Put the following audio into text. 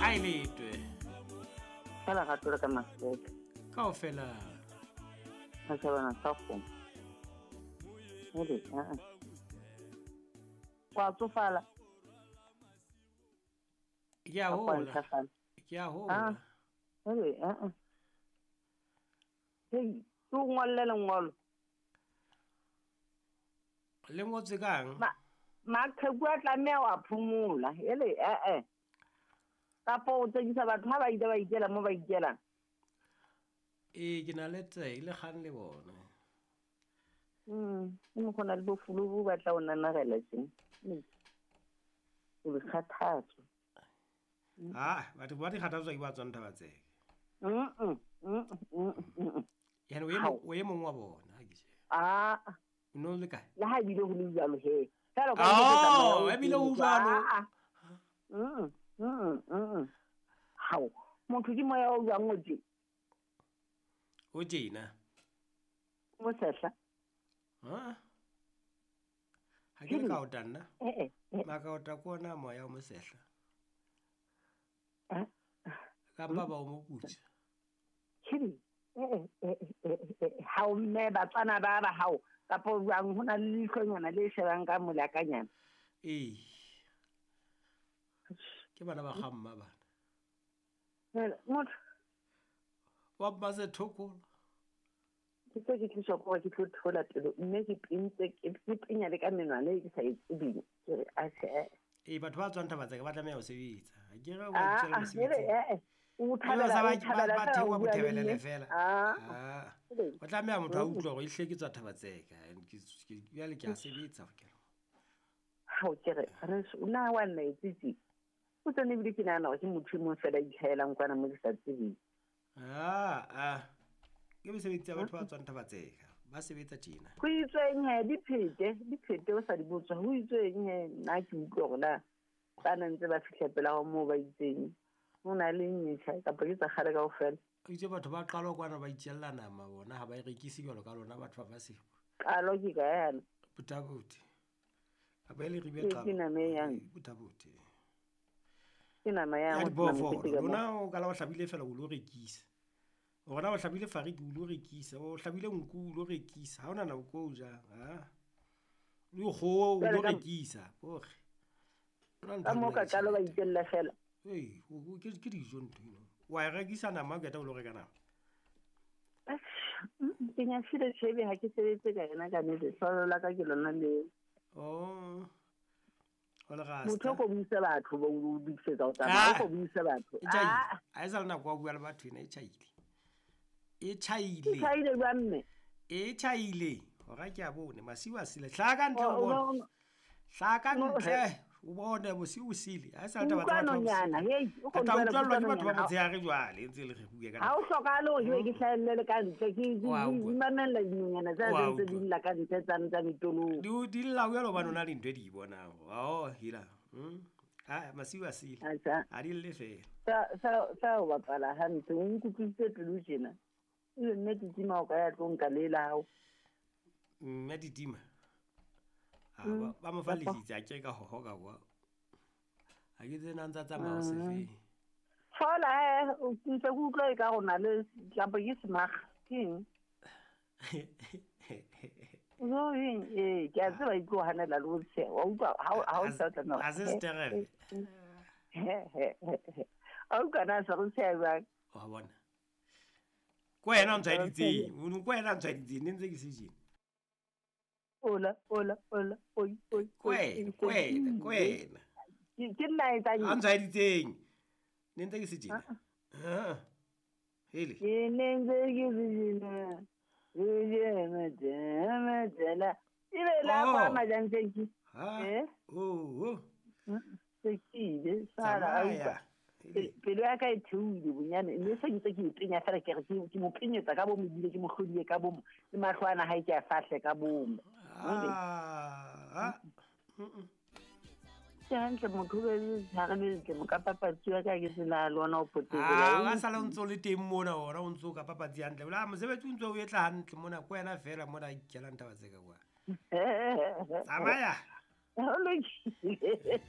Kae letwe? Ka lerato le ka maseke. Kaofela. Matjhabana sa kgomo. Hele, a-a. Wa tsofala. Ke a hola. Ke a hola. Ah. Hele, a-a. Hei, ke o ngolle lengolo. Le ngotswe kang? Maqheku a tlameha wa phomola. Hele, eh. Kapa o tsekisa batho ha ba ile ba ikela mo ba ikelang. Ee, ke na le tse le kgang le bona. Ke mo khona le bofulu bo batla o nanarela tjena. O le kgathatso. Ah, batho ba di kgathatswa ke ba tswang Thaba-Tseka. Yana o e mong wa bona ha ke tjhe. Ah. O no le kae? Le ha ebile ho le jwalo he. Fela ka Oh, ebile ho jwalo. Hao, motho ke moya o jwang o tje? O tjena. Mo sehla. Ha? Ha ke le ka o tanna. Maka o ta kona moya o mo sehla. Ka ba ba o mo putsa. Kiri. Hao mme Batswana ba ba hao kapa jwang ho na le leihlonyana le shebang ka molakanyana. Ee. Ke bana ba ga mma bana. Motho wa ba se thokola. Ke tse ke tliswa ko ke tlo thola pelo mme ke pintse ke pinya le ka menwana e ke sa e tsebeng. Ke re a se. Ee, batho ba tswang Thaba-Tseka ba tlameha ho sebetsa. Ha ke re o itjela mosebetsi. O thabela ba theoha bothebelele fela. Ah. O tlameha motho a utlwe hore ehlile ke tswa Thaba-Tseka. Jwale ke a sebetsa ho kena. Ha o ke re re na wa nna etsitsi. O tsene ebile ke nahana hore ke motho e mong fela itlhaelang kwana mo ke sa tsebeng. Ah. Ke mesebetsi ya batho ba tswang Thaba-Tseka. Ba sebetsa tjena. Ho itsweng he diphete o sa di botswa. Ho itsweng he nna ke utlwe hore na ba na ntse ba fihla pela ho moo ba itseng. Ho na le metjha kapa ke tsa kgale kaofela. O itse batho ba qalo kwana ba itjella nama bona ha ba e rekise jwalo ka lona batho ba Maseko. Qalo ke kae yana? Bothabothi. Kapa e le ribe qalo. Ke nama e yang. Bothabothi. Ke nama yang. Ya diphoofolo. Lona o kala o hlabile fela o lo rekisa. Rona o hlabile fariki o lo rekisa, o hlabile nku o lo rekisa. Ha ona nako o jang, ha? Le kgoho o lo rekisa, bore. Ka mo ka qalo ba itjella fela. Ee, ke dijo ntho eno. Wa e rekisa nama o qeta o lo reka nama. Ke nyafile tjhebe ha ke sebetse ka yona ka nnete. Hlolo la ka ke lona leo. Oh. O le rasta. Motho o ko buise batho ba o dukisetsa o tsamaya, o ko buise batho. E tjhaile. Ha e sa le nako ya ho bua le batho ena e tjhaile. E tjhaile. E tjhaile jwang mme? E tjhaile. Hora ke a bone masiu a sile. Hlaha ka ntle o bone. Hlaha ka ntle o bone bosiu o sile. Ha e sa le taba tsa batho. Hei, o Tla utlwellwa ke batho ba motshehare jwale ntse le re bue ka. Ha o hlokahale hore ke hlahelle le ka ntle ke mamella dinonyana tsa ntse di lla ka ntle tsa ntsa metolong. Di lla o jwalo hobane o na le ntho e di bonang. Oh, hila. Ah, masiu a sile. Ha di lle fela. Sa o bapala hantle o nkutlwisitse pelo tjena. Ebe mme Titima o ka ya tlo nka le la hao. Mme Titima. Ah, ba mo fa lesitsi a ke ka hoho ka kwa. Ha ke tsena ntsa tsamaya o se feng. Fola o ntse ke utlwa e ka rona le kapa ke semaga. Ke eng? No eng ke a tseba e tlo hanela le ho tsheha. Wa utlwa ha o sa tla Ha se sterele. A utlwa na sa re tsheha jwang? Wa bona. Ko wena o ntshwaeditseng, ko wena o ntshwaeditseng, ne ntse ke se tjena. Ola, oi, oi. Ko wena. Ke nna e etsang. A ntshwaeditseng. Ne ntse ke se tjena. Hele. Ke ne ntse ke se tjena. Ebe la kwa majang ke. Ha. Oh. Se ke ile sala a utlwa. Pelo ya ka e theohile bonyane mme se ntse ke ipenya fela ke re ke mo penyetsa ka bomo ebile ke mo hlodile ka bomo le mahlo ana hae ke a fahle ka bomo. Ah. Ke hantle motho o be tshware le mo ka papatsi ya ka ke sena le ona o potetse. Ah, sa le ntso le teng mona ona o ntso ka papatsi hantle. Ola mosebetsi o ntso o etla hantle mona ko wena fela mona ikelang taba tse ka kwa. Tsamaya. Ho lokile.